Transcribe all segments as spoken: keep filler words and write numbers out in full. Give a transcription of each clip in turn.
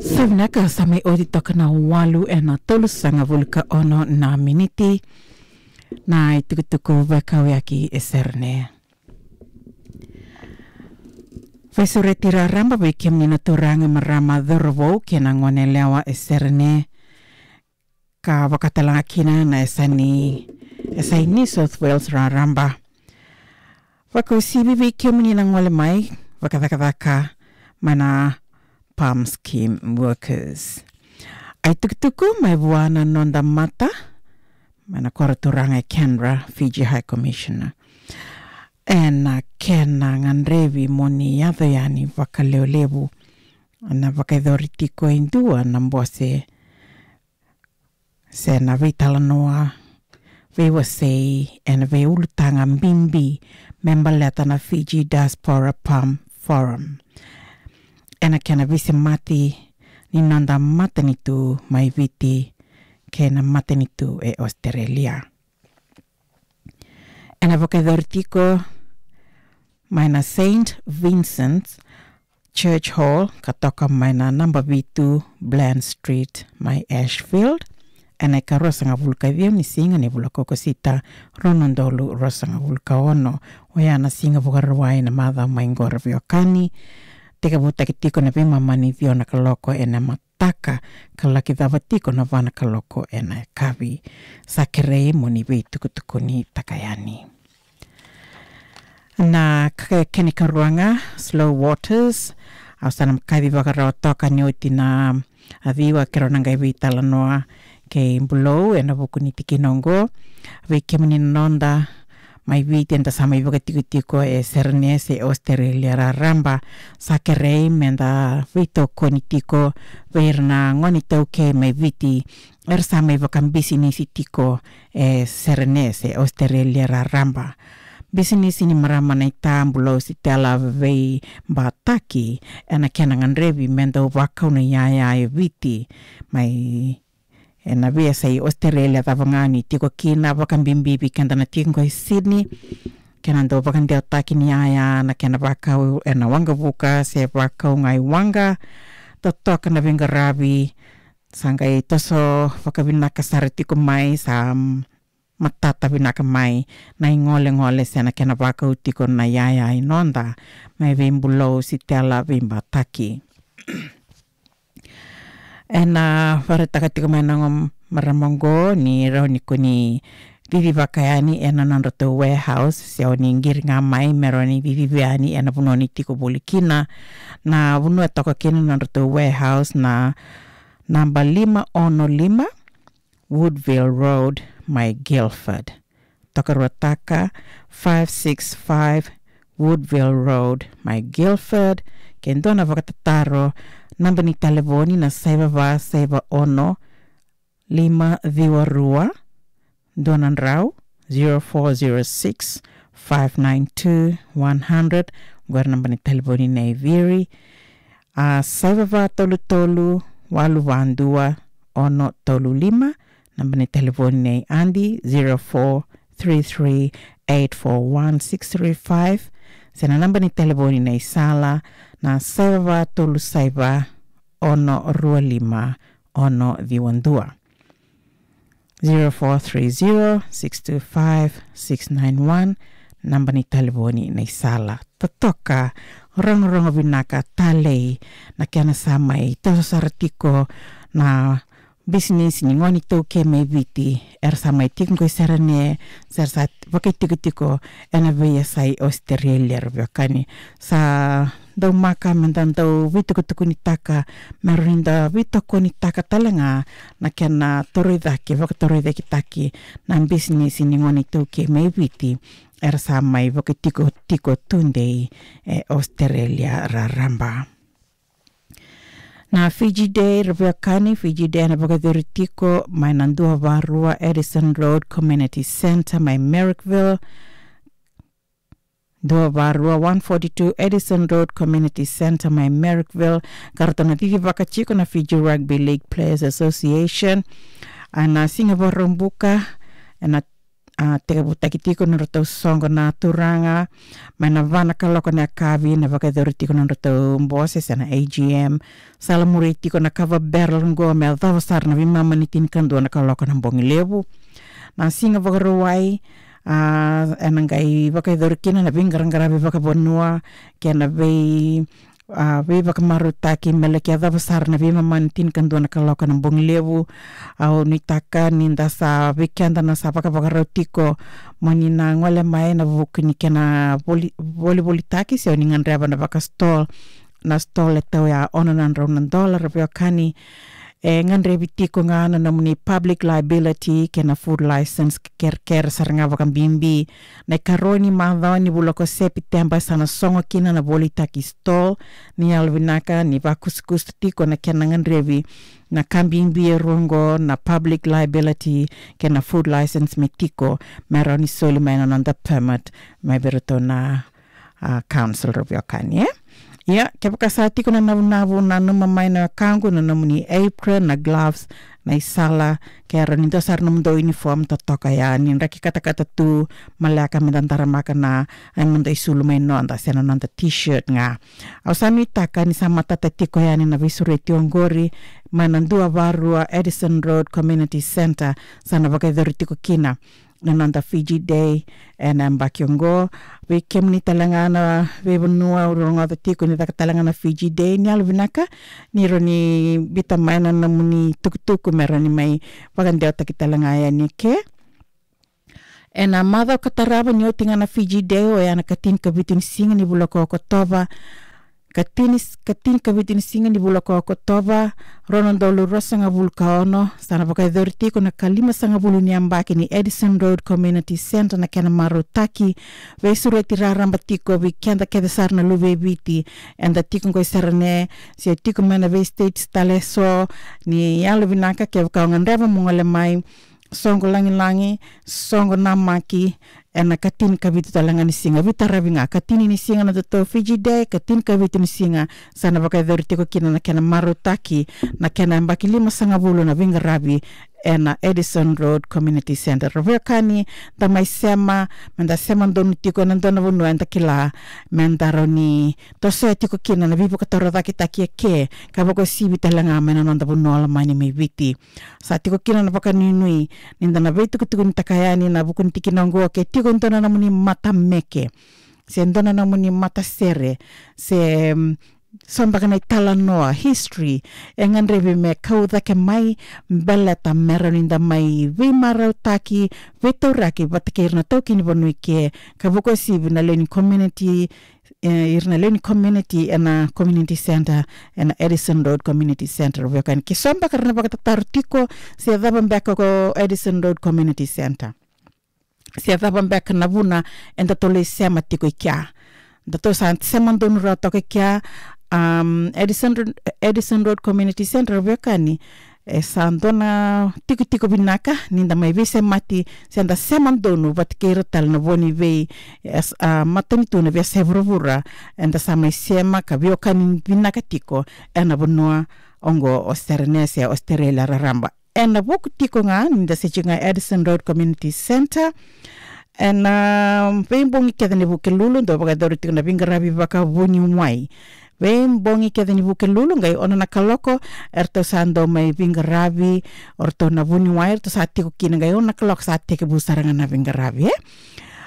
Sa vinaka, sa mai oti toka na walu ena tolusagavulu ka ono na miniti na itukutuku vakauyaki e Serene. Veisureti raraba vei kemuni na turaga, marama, cauravou kei na goneyalewa e Serene, ka vakatalega kina na yasa ni, yasa i New South Wales raraba. Vakauasivi vei kemuni na gole mai vakacakacaka mai na PALM scheme workers. A itukutuku mai vua na noda mata mai na koro turaga e Canberra, Fiji High Commissioner. Ena kena gadrevi mo ni yaco yani vakalevulevu, na vakayacori tiko e dua na bose se na veitalanoa veiwasei ena veiulutaga bibi me baleta na Fiji Diaspora PALM Forum, ena kena veisemati ni noda matanitu mai Viti kei na matanitu e Australia. Ena vakayacori tiko mai na Saint Vincent's Church Hall, ka toka mai na naba vitu Bland Street mai Ashfield, ena ikaruasagavulu ka ciwa ni siga ni vula ko Okosita, rua na udolu ruasagavulu ka ono. Oya na Siga Vakarauwai na macawa mai qo, ra veiwekani. Tekivutaki tiko na veimama ni ciwa na kaloko ena mataka, ka laki cava tiko na va na kaloko ena yakavi. Sa kerei mo ni veitukutukunitaka yani. Na ka kena ikarua ga, Slow Waters. Au sa na kaci vakarawa toka ni oti na ciwa keirau na qai veitalanoa kei Bulou ena vuku ni tikina oqo. Vei kemuni na noda mai Viti eda sa mai vakatikotiko e Serene se Australia raraba, sa kerei meda veitokoni tiko vei ira na gone iTaukei mai Viti era sa mai vakabisinisi tiko e Serene se Australia raraba. Bisinisi ni marama naita, Bulou Sitela Veibataki, ena kena gadrevi me dau vakau na iyaya e Viti mai ena veiyasai Australia cava ga ni tiko kina, vakabibi vei keda na tiko qo e Sydney. Kena dau vakadewataki ni iyaya na kena vakau ena waqavuka se vakau ga i waqa, totoka na veiqaravi. Sa qai toso vakavinaka sara tiko mai, sa matata vinaka mai na igolegole se na kena vakau tiko na iyaya i noda, mai vei Bulou Sitela Veibataki. Ena vakaraitaka tiko mai na noda marama oqo ni rawa ni ko ni cicivaka yani ena nodratou warehouse, se o ni qiri ga mai me rawa ni cicivi yani ena vanua ni tiko voli kina. Na vanua e toka kina na nodratou warehouse na naba lima ono lima Woodville Road mai Guildford. Tokaruataka, five six five Woodville Road mai Guildford. Ke dua na vakatataro, naba ni talevoni na saiva va saiva ono lima ciwa rua. Dua na drau, zero four zero six, five nine two, one hundred. Qori naba ni talevoni nei Viri. A, saiva va tolu tolu, walu va dua, ono tolu lima. Naba ni talevoni nei Adi, zero four three three eight four one six three five. Se na naba ni talevoni nei Sala, na saiva va tolu saiva, ono rua lima, ono ciwa dua. Zero four three zero six two five six nine one, naba ni talevoni nei Sala. Totoka, rogorogo vinaka, talei na kena sa mai toso sara tiko na bisinisi ni gone iTaukei mai Viti era sa mai tiko qo i Serene, se ra sa vakaitikotiko ena veiyasai Australia, ra veiwekani. Sa daumaka meda dau veitukutukunitaka, me rawa ni da veitokonitaka tale ga na kena toroicake, vakatoroicaketaki na bisinisi ni gone iTaukei mai Viti era sa mai vakaitikotiko tudei e Australia raraba. Na Fiji Day, ra veiwekani, Fiji Day ena vakayacori tiko mai na dua va rua Addison Road Community Centre mai Marrickville. Dua va rua, one forty-two Addison Road Community Centre mai Marrickville. Ka ratou na cicivaka tiko na Fiji Rugby League Players Association. A, na Siga Vakaraubuka ena a, tekivutaki tiko na nodratou soqo na turaga mai na va na kaloko na yakavi, na vakayacori tiko na nodratou bose se na A G M. Sa lamuri tiko na kava barrel qo me yacova sara na veimama ni tinikadua na kaloko na bogi levu. Na siga Vakarauwai, a, ena qai vakayacori kina na veiqaraqaravi vakavanua kei na vei, a, veivakamarautaki me laki yacova sara na veimama ni tinikadua na kaloko na bogi levu. Au nuitaka ni da sa, vei keda na sa vakavakarau tiko mo ni na gole mai ena vuku ni kena voli, volivolitaki se o ni gadreva na vaka stall, na stall e tau ya ono na drau na dola, ra veiwekani. E gadrevi tiko ga na nomuni public liability kei na food license, kerekere sara ga vakabibi. Na ikarua ni macawa ni vula ko Sepiteba sa na sogo kina na volitaki stall. Ni yalovinaka ni vakusakusa tiko na kena gadrevi na ka bibi e rua qo, na public liability kei na food license me tiko, me rawa ni soli mai na noda permit mai vei iratou na, a, council, ra veiwekani, e? Ia, kevaka sa tiko na navunavu, nanuma mai na wekaqu na nomuni apron, na gloves, na isala, ke rawa ni dua sara nomudou uniform totoka ya, ni draki katakata tu, maleka me da daramaka na, e, noda isulu mai noda se na noda t-shirt ga. Au sa nuitaka ni sa matata tiko yani na veisureti oqori mai na dua va rua Addison Road Community Centre, sa na vakayacori tiko kina na noda Fiji Day ena yabaki oqo. Vei kemuni tale ga na veivanua au rogoca tiko ni caka tale ga na Fiji Day, ni yalovinaka ni rawa ni biuta mai na nomuni tukutuku me rawa ni mai vakadewataki tale ga yani eke. Ena macawa ka tarava ni oti ga na Fiji Day, oya na ka tinikavitu ni siga ni vula ko Okotova, ka tini, ka tinikavitu ni siga ni vula ko Okotova, rua na udolu ruasagavulu ka ono, sa na vakayacori tiko na ka limasagavulu ni yabaki ni Addison Road Community Centre, na kena marautaki. Veisureti raraba tiko vei keda kece sara na luve i Viti eda tiko qo i Serene se tiko mai na vei states tale eso. Ni yalovinaka kevaka o gadreva mo gole mai, soqo lagilagi, soqo namaki, ena ka tinikavitu tale ga ni siga, veitaravi ga, ka tini ni siga na nodatou Fiji Day, ka tinikavitu ni siga sa na vakayacori tiko kina na kena marautaki na kena yabaki limasagavulu na veiqaravi ena Addison Road Community Centre. Ra veiwekani, da mai sema, me da sema donu tiko ena dua na vanua eda kila me da rawa ni tosoya tiko kina na veivakatorocaketaki eke, ka vakauasivi tale ga mai na noda vanua lomani mai Viti. Sa tiko kina na vakanuinui ni da na veitukutukunitaka yani ena vuku ni tikina oqo, ke tiko e dua na nomuni matameke se dua na nomuni matasere se, mm, so beka na italanoa, history, e gadrevi me kau cake mai, baleta me rawa ni da mai veimarautaki, veitauraki vata kei ira na taukei ni vanua eke, ka vakauasivi na lewe ni community, e, ira na lewe ni community ena community centre, ena Addison Road Community Centre. Veiwekani, ke so beka era na vakatataro tiko se cava beka ko Addison Road Community Centre, se cava beka na vuna edatou lai sema tiko i kea. Datou sa sema donu rawa toka i kea, um, Addison, Addison Road Community Centre, veiwekani, e sa dua na tikotiko vinaka ni da mai veisemati se da sema donu vata kei ira tale na vo ni vei, e, a, matanitu na veiyasai vuravura eda sa mai sema ka veiwekani vinaka tiko ena vanua oqo o Serene se Australia raraba. Ena vuku tiko ga ni da se tiko ga Addison Road Community Centre, ena veibogi kece ni Vukelulu dau vakayacori tiko na veiqaravi vakavuniwai. Veibogi kece ni Vukelulu, qai ono na kaloko eratou sa dau mai veiqaravi o ratou na vuniwai, eratou sa tiko kina, qai ono na kaloko sa tekivu sara ga na veiqaravi, e?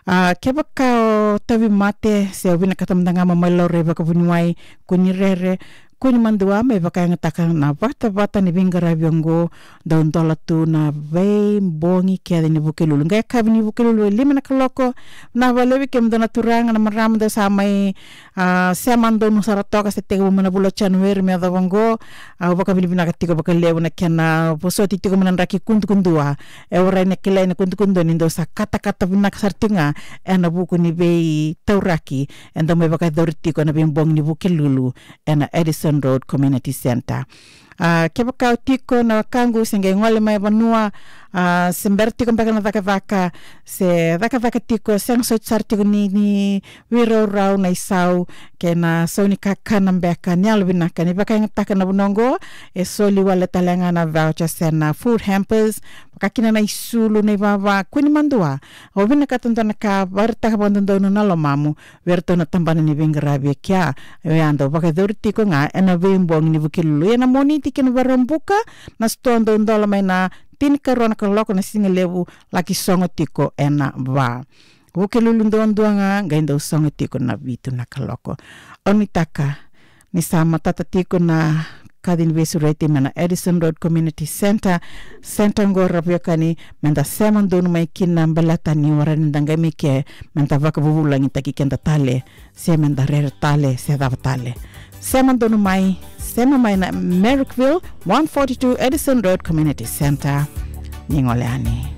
A, kevaka o tauvimate se o vinakata mada ga mo mai laurai vakavuniwai, kua ni rere, kua ni madua, me vakayagataka na vatavata ni veiqaravi oqo, dau dola tu na veibogi kece ni Vukelulu. Qai yakavi ni Vukelulu e lima na kaloko. Vinaka vakalevu vei kemudou na turaga, na marama dou sa mai, a, sema donu sara toka, se tekivu mai na vula o Janueri me yacova oqo. Au vakavinavinaka tiko vakalevu na kena vosoti tiko mai na draki kudukudua. E warai na kilai na kudukudua ni dou sa katakata vinaka sara tiko ga ena vuku ni veitauraki eda mai vakayacori tiko ena veibogi ni Vukelulu ena Addison Road Community Centre. A, kevaka o tiko na wekaqu se qai gole mai vanua, a, se bera tiko beka na cakacaka, se cakacaka tiko, sega soti sara tiko ni, ni veiraurau na isau, kei na sau ni kakana beka, ni yalovinaka ni vakayagataka na vanua oqo, e soli wale tale ga na voucher se na food hampers, vaka kina na isulu, na ivava, kua ni madua. O vinakata dua na ka, vakaraitaka vakadodonu na lomamu vei iratou na tabana ni veiqaravi e kea. Oya dau vakayacori tiko ga ena veibogi ni Vukelulu. Ia na Moniti kei na Vakaraubuka, na sitoa dau dola mai na tinikarua na kaloko na sigalevu, laki sogo tiko ena va. Vukelulu duadua ga, qai dau sogo tiko na vitu na kaloko. Au nuitaka ni sa matata tiko na kaci ni veisureti mai na Addison Road Community Centre. Centre oqo, ra veiwekani, meda sema donu mai kina baleta ni warai ni da qai mai ke, meda vakavuvulagitaki keda tale, se meda rere tale, se cava tale. Sema donu mai, sema mai na Marrickville, one forty-two Addison Road Community Centre. Ni gole yani.